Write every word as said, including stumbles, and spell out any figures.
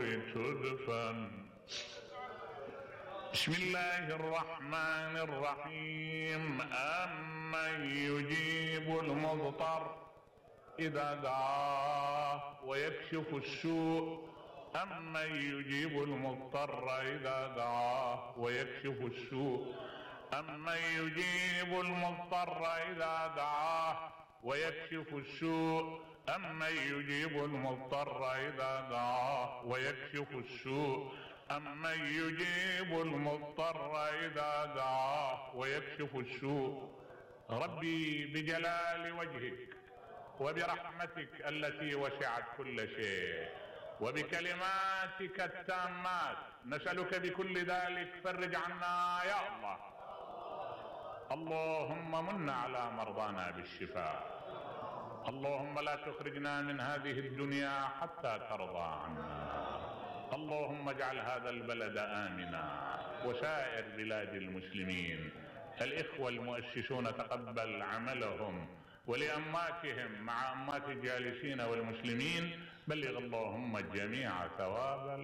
تدفن. بسم الله الرحمن الرحيم. أمن يجيب المضطر إذا دعاه ويكشف السوء أمن يجيب المضطر إذا دعاه ويكشف السوء أمن يجيب المضطر إذا دعاه ويكشف السوء أمن يجيب المضطر إذا دعاه ويكشف السوء أمن يجيب المضطر إذا دعاه ويكشف السوء. ربي بجلال وجهك وبرحمتك التي وسعت كل شيء وبكلماتك التامات نسألك بكل ذلك فرج عنا يا الله. اللهم من على مرضانا بالشفاء. اللهم لا تخرجنا من هذه الدنيا حتى ترضى عنا. اللهم اجعل هذا البلد آمنا وسائر بلاد المسلمين. الإخوة المؤسسون تقبل عملهم، ولأماتهم مع أمات الجالسين والمسلمين بلغ اللهم الجميع ثواب